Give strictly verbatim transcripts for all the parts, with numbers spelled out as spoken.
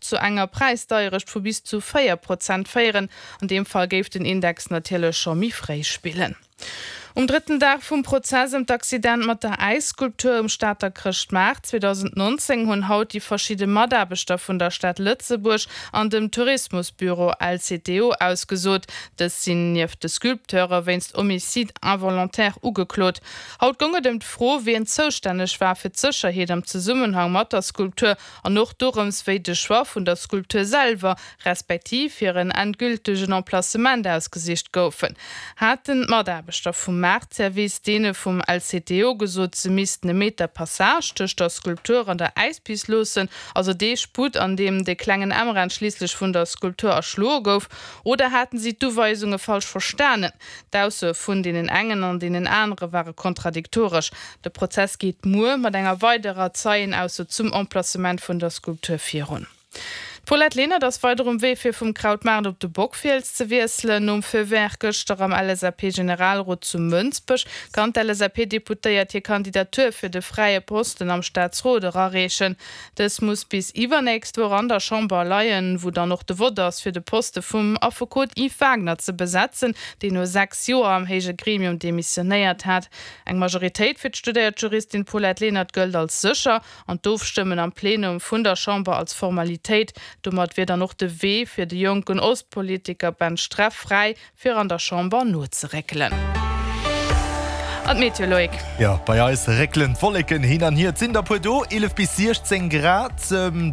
zu enger Präisdeierecht vu bis zu véier Prozent féieren. An deem Fall géif den Index natierlech scho méi fréi spillen. Um drëtten Dag vum Prozess ëm d'Accident mat der Äisskulptur um Stater Chrëschtmaart zweedausendnonzéng hunn haut déi verschidde Mataarbechter vun der Stad Lëtzebuerg an dem Tourismusbüro L C T O ausgesot. Dës sinn nieft de Sculpteure wéinst Homicide involontaire ugeklot. Haut goung et ëm d'Fro, wien zoustänneg war fir d'Sécherheet am Zesummenhang mat der Skulptur an och dorëms, wéi de Choix vun der Skulptur selwer, respektiv hiren endgültegen Emplacement ausgesicht goufen. Haten d'Mataarbechter vum Maartservice deene vum L C T O gesot, se missten e Meter Passage tëscht der Skulptur an der Äispist loossen, also dee Sputt, an deem de klengen Emran schliisslech vun der Skulptur erschloe gouf, oder haten si d'Uweisunge falsch verstanen? D'Aussoe vun deenen engen an deenen anere ware kontradiktoresch. De Prozess geet muer mat enger weiderer Zeienausso zum Emplacement vun der Skulptur virun. D'Paulette Lenert ass weider um Wee fir vum Krautmaart op de Bockfiels ze wiesselen. Nom Feu vert gëschter am L S A P-Generalrot zu Mënsbech kann d'L S A P-Deputéiert hir Kandidatur fir de fräie Posten am Staatsrot erareechen. Dës muss bis iwwernächst Woch an der Chamber leien, wou dann och de Vott ass fir de Poste vum Affekot Yves Wagner ze besetzen, deen no sechs Joer am héije Gremium demissionéiert hat. Eng Majoritéit fir d'studéiert Juristin Paulette Lenert gëllt als sécher an d'Ofstëmmen am Plenum vun der Chamber als Formalitéit. Domat wier dann och de Wee fir de jonken Ostpolitiker Ben Streff fräi, fir an der Chamber nozeréckelen. An d'Meteo, Loïc. Jo, bei eis réckelen d'Wolleken hin an hier. Et sinn der puer do, eelef bis siechzéng Grad.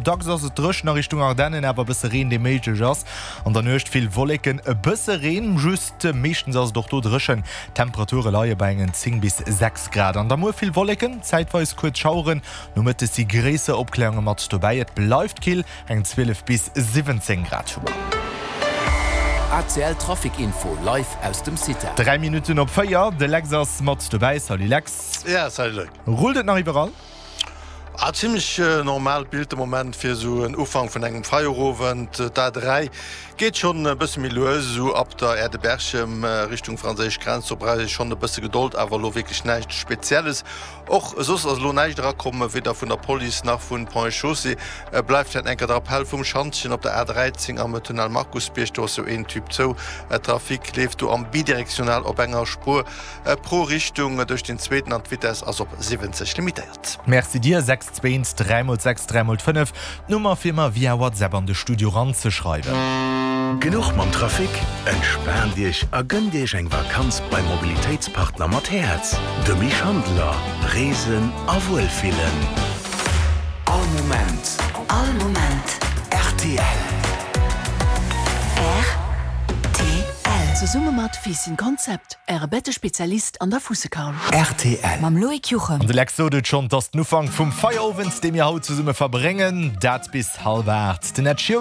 Dacks ass et dréchen a Richtung Ardennen, awer e bësse Reen, dee méiglech ass. An der Nuecht vill Wolleken, e bësse Reen, just meeschtens ass et och do dréchen. D'Temperature leie bei engen zéng bis sechs Grad. An da muer vill Wolleken, zäitweis kuerz Schaueren, nomëttes si gréisser Opkläerunge mat dobäi. Et bleift kill, eng zwielef bis siwwenzéng Grad hu mer. A C L Trafic Info live aus dem CITA. Dräi Minutten op véier, de Lex ass mat dobäi. Salut Lex. Ja, salut Luc. Rullt et nach iwwerall? Ah, zimlech normaalt Bild de Moment fir esou en Ufank vun engem Feierowend. D'A dräi geet schonn e bësse méi lues, esou ab der Aire de Berchem Richtung franséisch Grenz. Do brauch ee schonn e bësse Gedold, awer elo wierklech näischt Spezielles. Och soss ass elo näischt erakomm, weder vun der Police nach vun Ponts et Chaussées. Bleift vläicht enker der Appell vum Schantjen op der A dräizéng am Tunnel Markusbierg. Do ass jo een Typ zou. Trafic leeft do am bidirektional op enger Spuer pro Richtung duerch den zweeten an d'Vitess ass op siwwenzeg limitéiert. Merci dir. sechs zwee dräi mol sechs dräi mol fënnef, d'Nummer fir mer via WhatsApp an de Studio ranzeschreiwen. Genuch mam Trafic? Entspaant Iech a gënnt Iech eng Vakanz beim Mobilitéitspartner mat Häerz, dem Schandler. Reesen a Wuelfillen. All Moment. All Moment. R T L. R T L. Zesumme mat Fissin Konzept, Äre Bettespezialist an der Fussekarl. R T L. Mam Loïc Juchem. An de Lex sot et schonn, 't ass den Ufank vum Feierowend, dee mir haut zesumme verbréngen, dat bis hallwer aacht. Den Ed Sheeran